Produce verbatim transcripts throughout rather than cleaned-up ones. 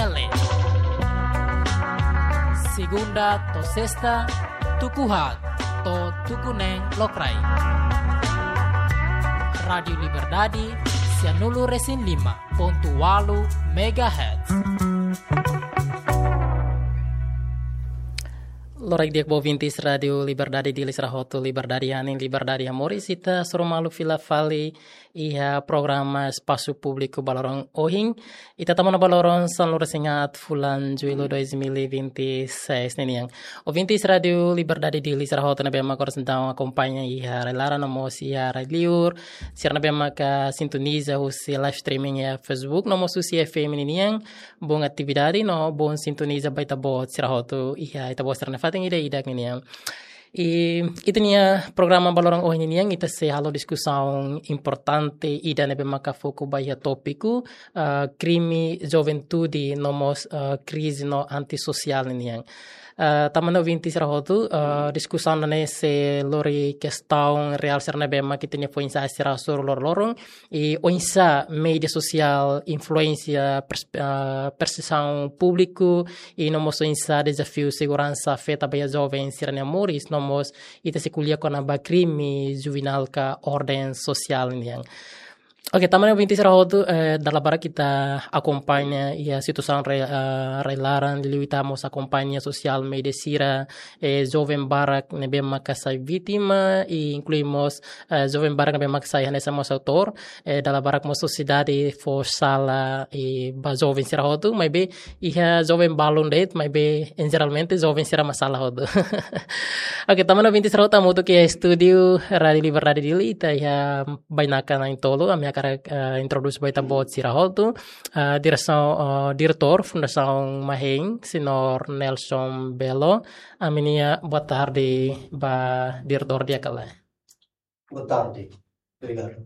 L. Segunda to'o sesta, tuku haat to'o tuku neen lokraik. Rádiu Liberdade, sianulu resin lima pontu ualu megahertz. Loraik di'ak ba ouvintes Rádiu Liberdade Dili sira hotu, liberdade hanesan liberdade hamoris, ita hasoru malu fila fali iha programa Espasu Públiku ba loron ohin. Ita tama ona ba loron sanulu resin haat fulan Jullu dois mil e vinte e seis ninian. Ouvintes Rádiu Liberdade Dili sira hotu ne'ebé mak oras entaun akompaña iha rai-laran no mós iha rai-liur, sira ne'ebé maka sintoniza husi live streaming iha Facebook no mós husi F M ninian, boa atividade no boa sintoniza ba ita-boot sira hotu iha ita-boot sira-nia fatin ida-idak ninian. I ita-nia programa ba loron ohin ninian, ita sei halo diskusaun importante ida ne'ebé maka foku ba iha tópiku, ah, krime juventude no mós, ah, krize no antisosiál ninian. Ah, tanba ne'e ouvintes sira hotu, ah, diskusaun ne'e sei lori kestaun reál sira ne'ebé mak ita-nia foin-sa'e sira hasoru loroloron, i oinsá média sosiál influensia pers-, ah, persepsaun públiku, i no mós oinsá dezafiu seguransa afeta ba iha joven sira-nia moris, no mós ita sei ko'alia kona-ba krime juvenil ka orden sosiál nian. Oke, tanba ne'e ouvintes sira hotu, eh, dala barak ita akompaña iha situasaun re-, eh, rai-laran, liuliu ita mós akompaña sosiál média sira, eh, joven barak ne'ebé maka sai vítima, i inklui mós, eh, joven barak ne'ebé maka sai hanesan mós autór, eh, dala barak mós sosiedade fó sala, eh, ba joven sira hotu, maibé iha joven balun de'it, maibé, en jeralmente, joven sira mak sala hotu. Oke, tanba ne'e ouvintes sira hotu, hamutuk iha estúdiu Rádiu Liberdade Dili, ita iha bainaka na'in-tolu, ami hakarak, eh, introdús ba ita-boot sira hotu. Eh, diresaun, eh, diretór Fundasaun Mahein, Señór Nelson Belo. Ami-nia boa tarde ba diretór di'ak ka lae. Boa tarde. Obrigadu.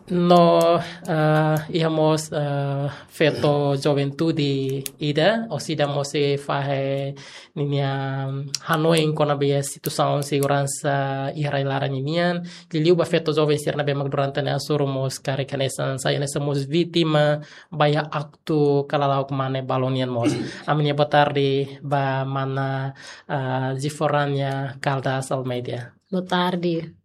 No, ah, iha mós, ah, feto juventude ida, orsida mós sei fahe ninia hanoin kona-ba iha situasaun seguransa iha rai-laran ninian, liuliu ba feto joven sira ne'ebé mak durante ne'e hasoru mós karik hanesan sai hanesan mós vítima ba iha aktu kalala'ok mane balun nian mós. Ami-nia boa tarde ba mana, ah, Ziforania Caldas Almeida. Boa tarde.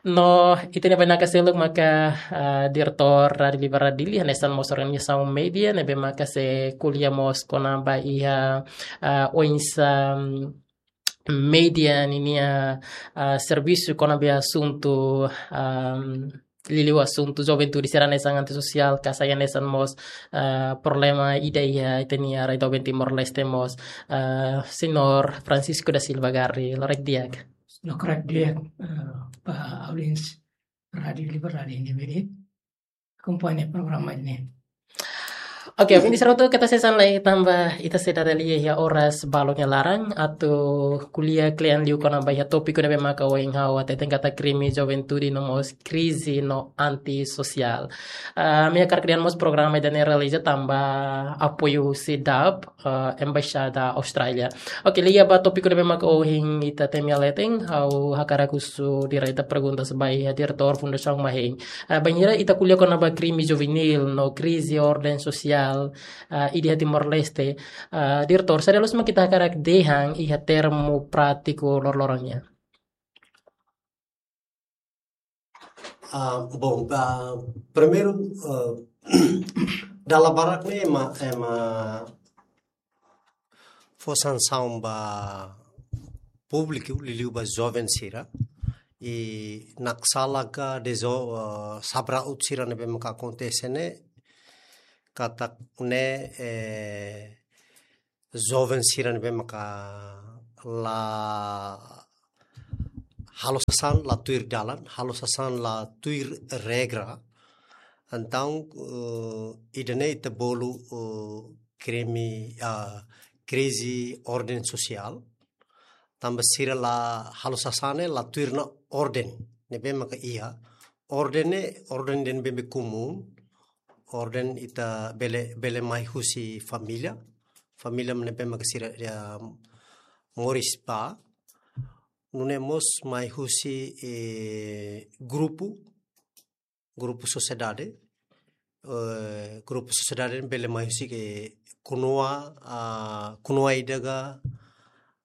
No, ita-nia bainaka seluk maka, ah, diretór Rádiu Liberdade Dili, hanesan mós organizasaun média, ne'ebé maka sei ko'alia mós kona-ba iha, ah, oinsá, mm, média ninia, ah, servisu kona-ba asuntu, ah, liuliu asuntu juventude sira hanesan antisosiál, ka sai hanesan mós, ah, problema ida iha ita-nia rai doben Timor-Leste mós, ah, Señór Francisco da Silva Garri, loraik di'ak. Loraik di'ak, eh, ba audiénsia Rádiu Liberdade ne'ebé akompaña programa ne'e. Oke, oke, sira hotu keta sesan lai tanba ita sei dada lia iha oras balun nia laran atu ko'alia kle'an liu kona-ba iha tópiku ne'ebé maka ohin ha'u hateten katak krime juventude no mós krize no antisosiál. Ah, ami hakarak dehan mós programa ida-ne'e realiza tanba apoiu husi dab, eh, Embaixada Austrália. Oke, liga ba tópiku ne'ebé maka ohin ita temi hela leten, ha'u hakarak husu direta perguntas ba iha diretór Fundasaun Mahein. Eh, bainhira ita ko'alia kona-ba krime juvenil no krize orden sosiál, eh, iha Timor-Leste. Eh, diretór, saida loos mak ita hakarak dehan iha termu prátiku loroloron nian? Ah, bom, ah, primeiru, ah, dala barak ne'e ema, ema fó sansaun ba públiku, liuliu ba joven sira. I naksala ka dezo-, ah, sabraut sira ne'ebé maka akontese ne'e, katak ne'e, eh, joven sira ne'ebé maka la halo sasán la tuir dalan, halo sasán la tuir regra. Entaun, eh, ida-ne'e ita bolu, eh, krime, ah, krize orden sosiál. Tanba sira la halo sasán ne'e la tuir ona orden ne'ebé maka iha. Orden ne'e, orden ida ne'ebé komún, orden ita bele, bele mai husi família, família ne'ebé maka sira, ya, moris ba, nune'e mós mai husi, eh, grupu, grupu sosiedade, eh, grupu sosiedade bele mai husi ke konua, ah, konua ida ka,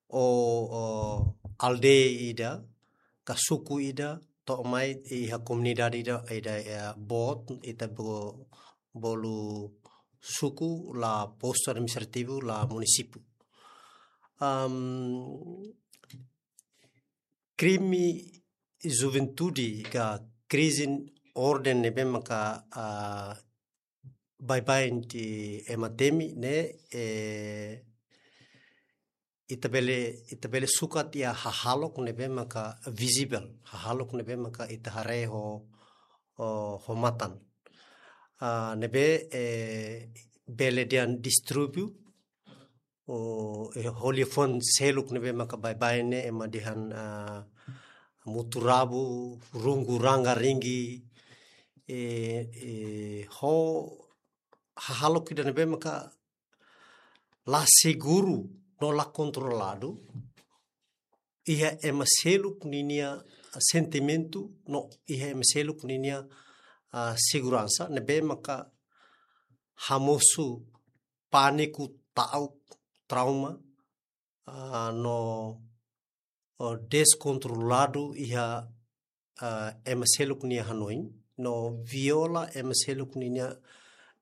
ou, ou aldeia ida, ka suku ida, to'o mai iha komunidade ida, ida, eh, boot, ita bo-, bolu suku la postu administrativu la munisípiu. Am, krime juventude ka krize orden ne'ebé maka, ah, baibain ema temi ne'e, eh, ita bele, ita bele sukat iha hahalok ne'ebé maka visible, hahalok ne'ebé maka ita haree ho, ho, ho matan. Ah, ne'ebé, eh, bele dehan distribuir ou, eh, ho liafuan seluk ne'ebé maka baibain ne'e ema dehan, ah, mutu-rabu, rungu ranga-ringgi, eh, eh, ho hahalok ida ne'ebé maka la seguru no la kontroladu iha ema seluk ninia sentimentu no iha ema seluk ninia, ah, seguransa, ne'ebé maka hamosu pániku, ta'uk, trauma, ah, no, oh, deskontroladu iha, ah, ema seluk nia hanoin, no viola ema seluk ninia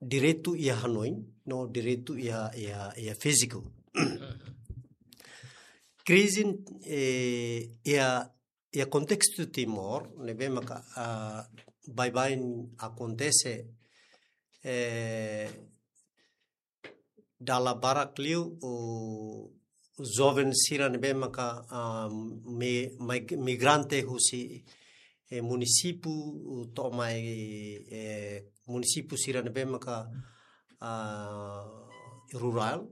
direitu iha hanoin, no direitu iha, iha, iha fíziku. Krize, eh, iha, iha kontestu Timor, ne'ebé maka, ah, baibain akontese, eh, dala barak liu, ou, joven sira ne'ebé maka, ah, mi-, mig-, migrante husi, eh, munisípiu, to'o mai, eh, munisípiu sira ne'ebé maka, ah, rurál,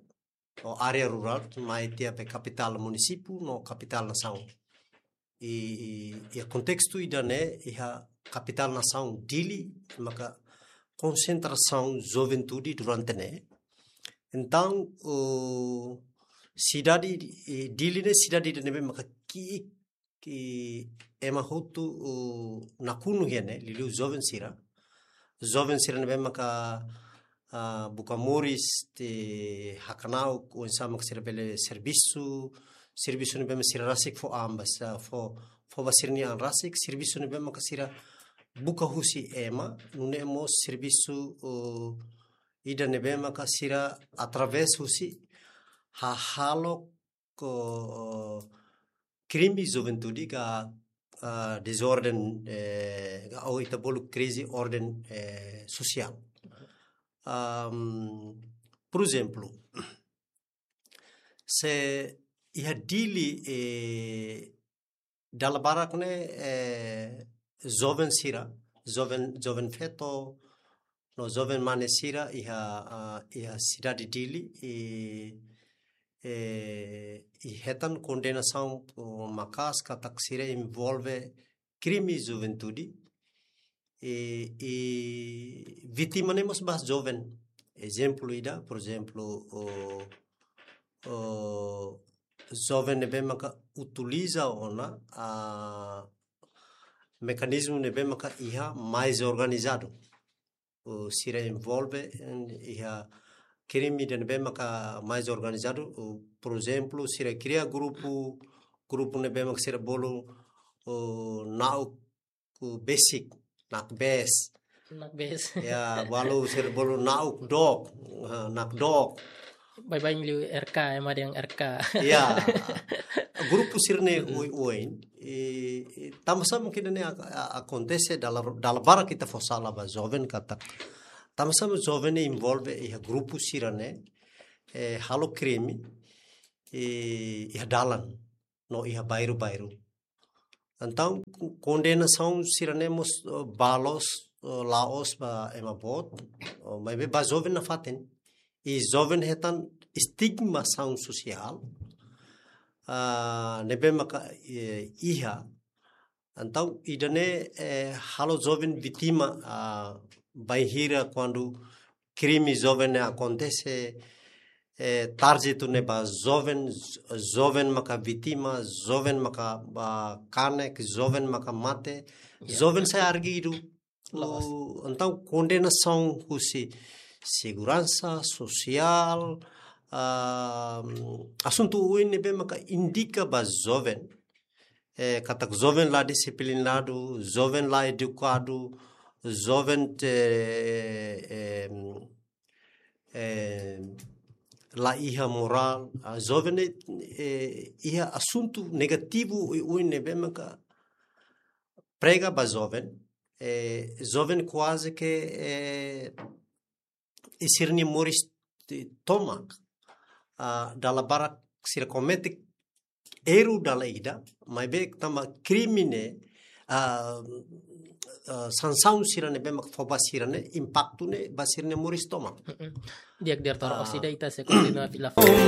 ou área rurál, mai tiha ba kapitál munisípiu no kapitál nasaun. I, i, iha kontestu ida-ne'e, iha kapitál nasaun Dili, maka konsentrasaun juventude durante ne'e. Entaun, o, sidade, eh, Dili ne'e sidade ida ne'ebé maka ki'ik, ki'ik ema hotu, o, nakonu iha ne'e, liuliu joven sira. Joven sira ne'ebé maka, ah, buka moris, te hakana'uk oinsá maka sira bele servisu, servisu ne'ebé maka sira rasik fó an ba, sa fó, fó ba sira-nia an rasik, servisu ne'ebé maka sira buka husi ema, nune'e mós servisu, o, ida ne'ebé maka sira através husi hahalok, o, krime juventude ka, ah, dezorden, eh, ka, ou ita bolu krize orden, eh, sosiál. Am, por ezemplu, se iha Dili, eh, dala barak ne'e, eh, joven sira, joven, joven feto, no joven mane sira iha, ah, iha sidade Dili, i, eh, i hetan kondenasaun, o, maka'as katak sira envolve krime juventude, i, i vítima ne'e mós ba joven. Ezemplu ida, por ezemplu, o, o, joven ne'ebé maka utiliza ona, ah, mekanizmu ne'ebé maka iha mais organizadu. O, sira envolve, en, iha krime ida ne'ebé maka mais organizadu, o, por ezemplu, sira kria grupu, grupu ne'ebé maka sira bolu, o, na'uk besik, nakbes. Nakbes. Ya, balu sira bolu na'uk dook, ah, nakdook. Baibain liu R K, ema dehan R K. Ya. Grupu sira-ne'e, mm-mm, oioin. I, i, tanbasá mungkin ne'e ak-, a-, akontese dala, dala barak ita fó sala ba joven katak. Tanbasá joven ne'e envolve iha grupu sira-ne'e, eh, halo krime, i, iha dalan, no iha bairru-bairru. Entaun, kondenasaun sira-ne'e mós, eh, ba loos, eh, la'ós ba ema boot, eh, maibé ba joven nafatin. I joven hetan estigmasaun sosiál, ah, ne'ebé maka, eh, iha. Entaun, ida-ne'e, eh, halo joven vítima, ah, bainhira kuandu krime joven ne'e akontese, eh, tarjetu ne'e ba joven, joven maka vítima, joven maka, ah, kanek, joven maka mate, ya, joven sai arguidu. Entaun kondenasaun husi seguransa sosiál, ah, asuntu oioin ne'ebé maka indika ba joven, eh, katak joven la disiplinadu, joven la edukadu, joven te, eh, eh, la iha morál, ah, joven ne'e, eh, iha asuntu negativu oioin ne'ebé maka prega ba joven, eh, joven kuaze ke, eh, sira-nia moris tomak, ah, dala barak sira komete erru dala ida, maibé tanba krime ne'e, ah, ah, sansaun sira ne'ebé mak fó ba sira ne'e, impaktu ne'e ba sira-nia moris tomak. Di'ak, diretór, ah, orsida ita sei kontinua fila fali.